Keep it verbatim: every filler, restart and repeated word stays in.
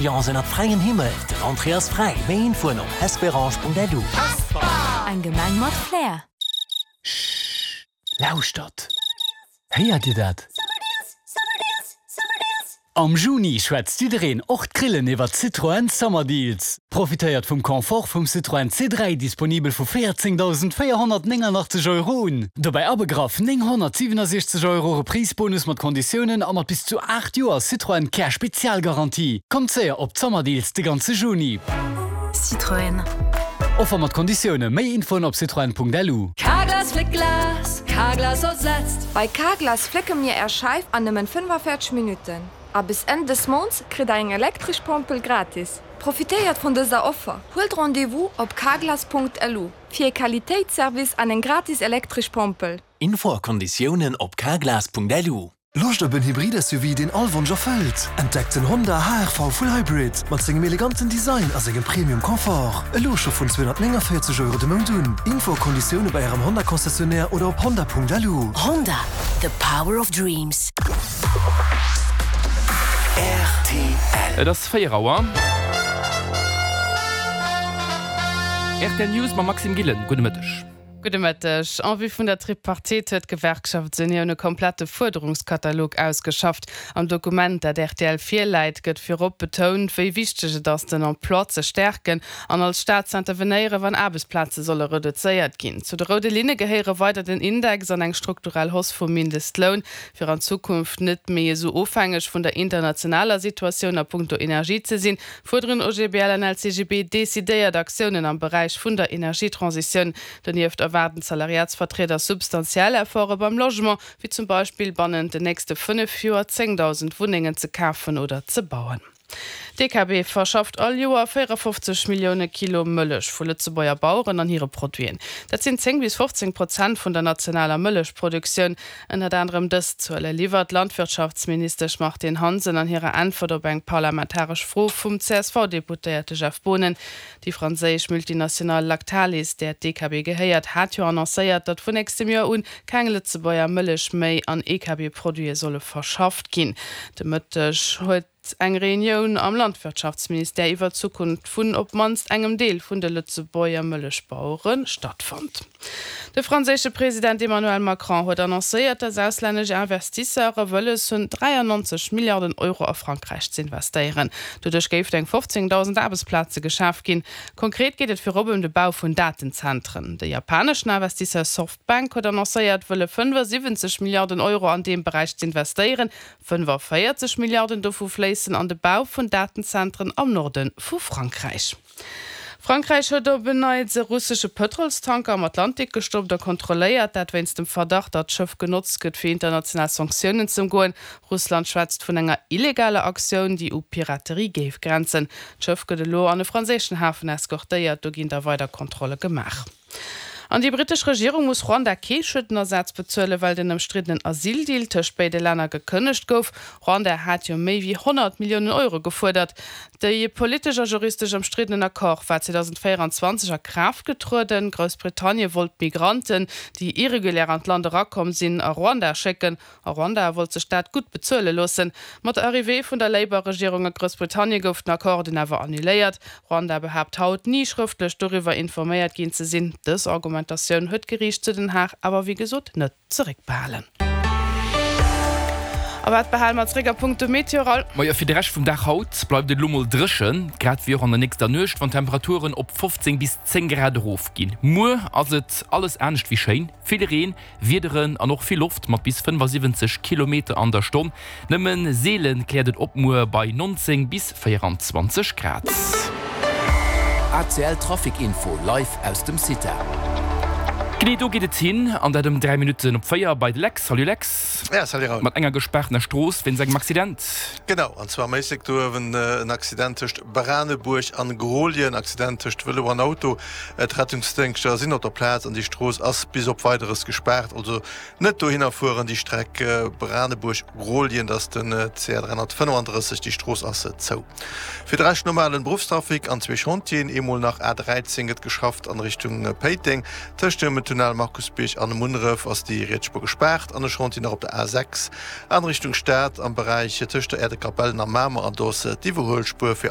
Ambiance ënnert fräiem Himmel. Den Entrée ass fräi. Méi Infoen op hesperange.lu. Eng Gemeng mat Flair. Lauschtert! Héiert Dir dat? Am Juni schwätzt jiddereen, och d'Grillen, iwwer Citroën Summer Deals. Profitéiert vum Confort vum Citroën C dräi, disponibel vu véierzéngdausend véierhonnertnéngannachtzeg Euro un. Dobäi abegraff nénghonnertsiwenasechzeg Euro Reprise-Bonus mat Konditiounen a mat bis zu aacht Joer Citroën Care Spezialgarantie. Kommt séier op d'Summer Deals de ganze Juni. Citroën. Offer mat Konditioune, méi Infoen op citroen.lu. Carglass fléckt Glas, Carglass ersetzt. Bei Carglass flécke mir Är Scheif an nëmmen fënnefavierzeg Minutten. A bis Enn des Mounts kritt der eng elektresch Pompel gratis. Profitéiert vun dëser Offer! Huelt Rendez-vous op carglass.lu fir e Qualitéitsservice an eng gratis elektresch Pompel. Info a Konditiounen op carglass.lu. Loscht op en Hybrid-S U V, deen all Wonsch erfëllt? Entdeckt den Honda H R V Full Hybrid mat sengem eleganten Design a sengem Premium Confort. Elo scho vun zweehonnertnénganvéierzeg Euro de Mount un. Info a Konditioune bei Ärem Honda Concessionnaire oder op honda.lu. Honda, the power of dreams. R T L. Et ass véier Auer. R T L News mam Maxime Gillen. Gudde Mëtteg. Gudde Mëtteg. En vue vun der Tripartite huet d'Gewerkschaftsunioun e komplette Fuerderungskatalog ausgeschafft. Am Dokument, dat R T L virläit, gëtt virop betount, wéi wichteg et ass, den Emploi ze stäerken an als Staat ze intervenéieren, wann Aarbechtsplaze solle reduzéiert ginn. Zu de roude Linne gehéiere weider den Index an eng strukturell Hausse vum Mindestloun, fir an Zukunft net méi esou ofhängeg vun der internationaler Situatioun a punkto Energie ze sinn, fuerderen O G B L an L C G B decidéiert Aktiounen am Beräich vun der Energietransitioun. Donieft erwaarden d'Salariatsvertrieder substantiell Efforte beim Logement, wéi zum Beispill bannent den nächste fënnef Joer zéngdausend Wunnengen ze kafen oder ze bauen. D'E K B verschafft all Joer véierafofzeg Millioune Kilo Mëllech vu Lëtzebuerger Baueren an hire Produiten. Dat sinn zéng bis fofzéng Prozent vun der nationaler Mëllechproduktioun. Ënnert anerem dës Zuele liwwert d'Landwirtschaftsministesch Martine Hansen an hirer Äntwert op eng parlamentaresch Fro vum C S V-Deputéierte Jeff Boonen. Déi franséisch Multinationale Lactalis, där d'E K B gehéiert, hat jo annoncéiert, datt vun nächstem Joer un keng Lëtzebuerger Mëllech méi an E K B-Produite solle verschafft ginn. De Mëtteg huet eng Reunioun am Landwirtschaftsministère iwwer d'Zukunft vun op d'mannst engem Deel vun de Lëtzebuerger Mëllechbauere stattfonnt. De franséische President Emmanuel Macron huet annoncéiert, datt auslännesch Investisseure wëlles hunn, dräiannonzeg Milliarden Euro a Frankräich ze investéieren. Doduerch géifen eng fofzéngdausend Aarbechtsplaze geschaf ginn. Konkret geet et virop ëm de Bau vun Datenzentren. De japaneschen Investisseur Softbank huet annoncéiert, wëlle fënnefasiwwenzeg Milliarden Euro an deem Beräich ze investéieren. Fënnefaviertzeg Milliarden dovu fléissen an de Bau vun Datenzentren am Norde vu Frankräich. Frankräich huet op en Neits e russesche Pëtrolstanker am Atlantik gestoppt a kontrolléiert, dat wéinst dem Verdacht, datt d'Schëff genotzt gëtt, fir international Sanktiounen ze ëmgoen. Russland schwätzt vun enger illegaler Aktioun, déi u Piraterie géif grenzen. D'Schëff gëtt elo an e franséischen Hafen eskortéiert, do ginn da weider Kontrolle gemaach. An déi brittesch Regierung muss Ruanda kee Schuedenersaz bezuelen, well den ëmstriddenen Asyldeal tëscht béide Länner gekënnegt gouf. Ruanda hat jo méi wéi honnert Milliounen Euro gefuerdert. De politesch a juristesch ëmstriddenen Accord war zweedausendvéieranzwanzeg a Kraaft getrueden. Groussbritannien wollt Migranten, déi irregulär an d'Land erakomm sinn, a Ruanda schécken. A Ruanda wollt sech dat gutt bezuele loossen. Mat der Arrivée vun der Labour-Regierung a Groussbritannien gouf den Accord dunn awer annuléiert. Ruanda behaapt haut, ni schrëftlech doriwwer informéiert ginn ze sinn. Dës Argumentatioun huet d'Geriicht zu Den Haag awer wéi gesot net zeréckbehalen. A wat behale mer zeréck a punkto Meteo? Majo, fir de Rescht vum Dag haut bleift et elo mol dréchen, grad wéi och an der nächster Nuecht, wann d'Temperaturen op fofzéng bis zéng Grad erofginn. Muer ass et alles anescht wéi schéin, vill Reen, Wiederen an och vill Loft mat bis fënnefasiwwenzeg Kilometer an der Stonn. Nëmme seele kläert et op muer bei nonzéng bis véieranzwanzeg Grad. A C L Trafic Info live aus dem CITA. Genee do geet et hin, an dat ëm dräi Minutten op véier bei de Lex. Salut Lex. Ja, salut Raoul. Mat enger gespaartener Strooss wéinst engem Accident. Genau, an zwar am Éislek do uewen en Accident tëscht Branebuerg an Grolljen, Accident tëscht Vëlo an Auto. D'Rettungsdéngschter sinn op der Plaz an déi Strooss ass bis op Weideres gespaart. Also net dohinner fueren, déi Streck Branebuerg-Grolljen, dat ass den C R dräihonnertfënnefandrësseg, déi Strooss ass zou. Fir de Rescht normalen Beruffstrafic an zwee Chantieren, eemol nach A dräizéng gëtt geschafft an Richtung Péiteng, tëscht dem Tunnel Markusbierg an Munneref ass déi riets Spuer gespaart an e Chantier nach op der A sechs an Richtung Stad am Beräich tëscht der Aire de Capellen a Mamer an do ass d'Iwwerhuelspuer fir